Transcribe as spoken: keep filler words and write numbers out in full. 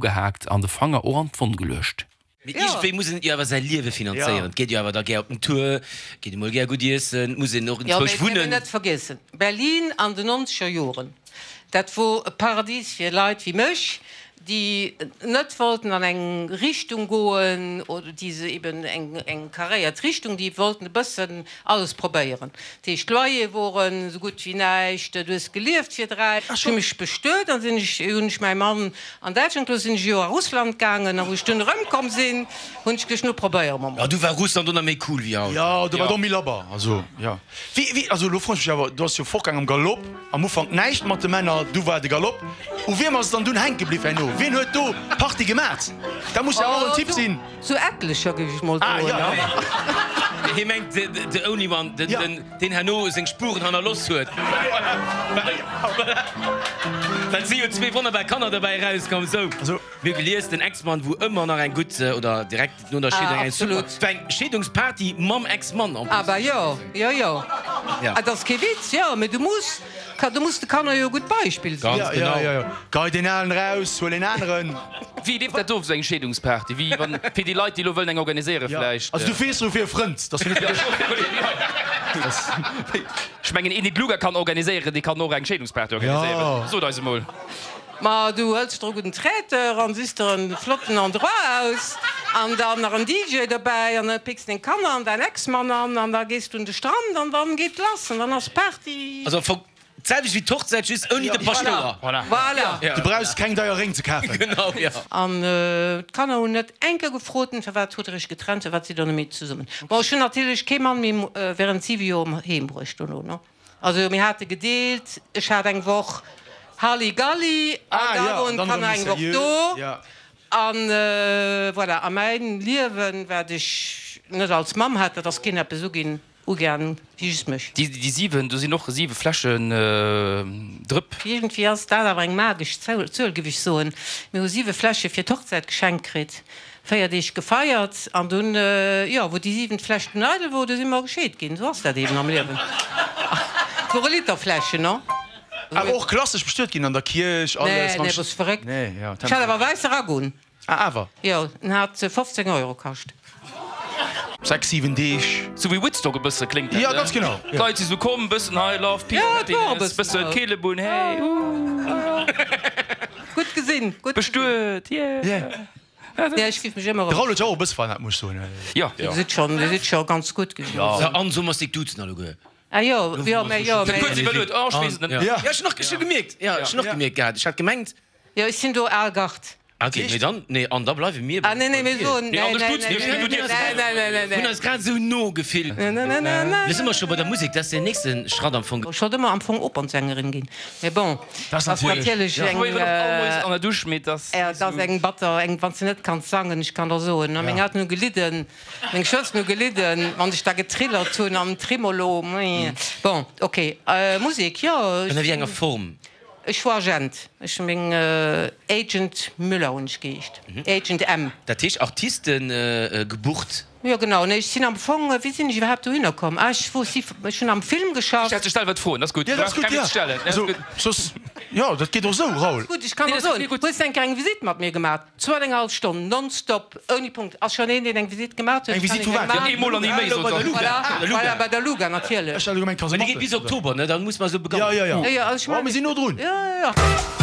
Ugehaakt an de Fanger och an d'Wonn geluecht. Mee iergendwéi muss en jo awer säi Liewe finanzéieren. Et geet jo awer da gär op den Tour, geet emol gär gutt iessen, et muss een och Jo, mee enzwousch et dierf een wunnen. net vergiessen, Berlin an den nonzeger Joren, dat wor e Paradies fir Leit wéi mech, déi net wollten an eng Richtung goen oder déi se eben eng eng karéiert Richtung, déi wollten e bëssen alles probéieren. Dat heescht, d'Loyere woren esou gutt wéi näischt, du hues gelieft fir dräi. Ech hu mech bestuet an sinn ech, hunn ech mäi Mann an Däitschland gelooss, sinn ech e Joer a Russland gaangen a wou ech dunn erëmkomm sinn, hunn ech geduecht, nu probéiere mer Jo, mol. du war Russland och nach méi cool wéi haut. Jo, do war et och méi labber. Also, jo. Wéi, wéi, also elo froen ech mech awer, du ass jo fortgaang am Galopp, am Ufank näischt mat de Männer, du war de Galopp. U wiem ass et dann dunn hänke bliww herno? Wien huet do Party gemat? Dat muss jo awer och en Typ sinn. Zu etlecher, géif ech mol Ah, soen, jo. ne? Hie mengt the only one, den, deen herno seng Spuren hannerloss huet. Well et si jo zwee wonnerbar Kanner derbäi erauskomm. Sou, mir hu gelies, den Ex-Mann wou ëmmer nach eng gutt, oder direkt no der Scheedung eng super, Absolut. war eng Scheedungsparty mam Ex-Mann en plus. Ah bah jo, jo, jo. Ja. Et ass kee Witz, jo, mee du muss, du muss de Kanner jo e gutt Beispill sinn. Ganz Ja, genau. ja, ja. Gei deen alen raus, huel een aneren. Wéi leeft dat of, sou eng Scheedungsparty? Wéi wann, fir déi Leit, déi elo wëllen eng organiséieren Ja. vläicht? Also du fees elo fir e Frënd, dass du net fir dech. Ech mengen, een, deen d'Luga kann organiséieren, dee kann och eng Scheedungsparty organiséieren. Ja. Sot eis emol. Ma du hëls der e gudden Traiteur an sichs der en flotten Endroit aus an dann nach en D J dobäi an da picks deng Kanner an däin Ex-Mann an an da gees du un de Strand an dann geet lass an dann ass Party. Also am Fong d'selwecht wéi d'Hochzäit, just ouni de Paschtouer. Voilà. Voilà. Du brauchs keng deier Réng ze kafen. Genau, jo. An d'Kanner hunn net eng Kéier gefrot, Firwat hutt der iech getrennt, firwat sidd der net méi zesummen? Bon, ech hunn natierlech kee Mann méi während siwe Joer heem bruecht dono, ne. Also mir hate gedeelt, ech hat eng Woch Halligalli an da woren d'Kanner eng Woch do. An voilà, a mäin Liewen, wat ech net als Mamm hat, dat ass keen eppes uginn. Ugaang wéi just mech. Déi siwen, do sinn och siwe Fläschen drëpp. Iergendwéi ass dat awer eng magesch Zuel, géif ech soen. Mir hu siwe Fläsche fir d'Hochzäit geschenkt kritt, véier Deeg gefeiert an dunn, jo, wou déi siwent Fläsch dunn eidel wor, du si mer gescheet ginn. Esou ass dat eeben am Liewen. Et wore Literfläschen, no? Awer och klassesch bestuet ginn an der Kierch, alles Nee, nee, bass verréckt? Ech hat awer wäisse Rack un. Ah, awer? Jo, en hat fofzéng Euro kascht. Sechs, siwen Deeg. Sou wéi Woodstock e bësse kléngt dat, Ja, ganz genau. D'Leit si sou komm, bëssen hei Love, Peace, Ja, et wor e Happiness, bëssen bëssen esou. Keelebunn, hey, ooh. Gutt gesinn, gutt gesinn. Bestuet, yeah. Yeah. Ja, ech giff mech ëmmer De erëm. Raoul huet jo och e bësse verännert, muss ech soen. Ja. Dir sidd schonn, dir sidd scho ganz gutt gesinn. Ja, an sou muss dik duzen alleguer. Ah jo, jo, mä jo, mä. Kuerz iwwerluet, oh, ech weess et net. Ja, ech hunn och ech hu gemierkt, ja, ech hunn och gemierkt gehat, ech hat gemengt. Jo, ech sinn do al Gard. Ok, mee dann, nee, an da bleiwe mir Ah, nee, nee, mir soen, Nee, an nee, de nee, Stutz, nee, nee, nee, du dierfs nee, nee, nee, nee, nee. Hunn eis grad esou no gefillt. Nee, nee, nee, nee, nee. Lo si mer scho bei der Musek, dat ass den nächste Schratt am Fong. Ech wollt ëmmer am Fong Opernsängerin ginn, mee bon, Dat ass ass natierlech, natierlech Ech eng, probéieren och all Moies an der Dusch, mee et ass ja, et ass eng batter, eng, wann s de net kanns sangen, ech kann der soen, meng Elteren hu gelidden, meng Schwësteren hu gelidden, wann ech da getrillert hunn am Tremolo, bon, ok, Musek, jo, ech Ënner wéi enger Form? Ech wor Agent. Ech hu meng Agent Müller hunn ech geheescht. Agent M. Dat heescht Artisten gebucht? Jo genau. Nee ech sinn am Fong, wéi sinn ech iwwerhaapt dohinner komm? Ah ech wor si, ech hunn am Film geschafft. Stells dech selwer d'Froen, dat ass gutt. Jo dat ass gutt, jo. Also soss, jo dat geet och esou, Raoul. Gutt, ech kann der soen, hues de eng Kéier eng Visitt mat mir gemaat? Zwou an eng hallef Stonn nonstop, ouni Punkt. Ass schonn een deen eng Visitt gemaat huet? Eng Visitt vu wat? Jo eemol an ni méi, sot se. Voilà, voilà, bei der Luga natierlech. Ech hat elo gemengt Mä déi geet bis Kasematten. Oktober, ne? Da muss mer esou begannen. Jo, jo, jo. Jo, jo, also ech Oh, mir sinn no drun. Jo, jo, jo.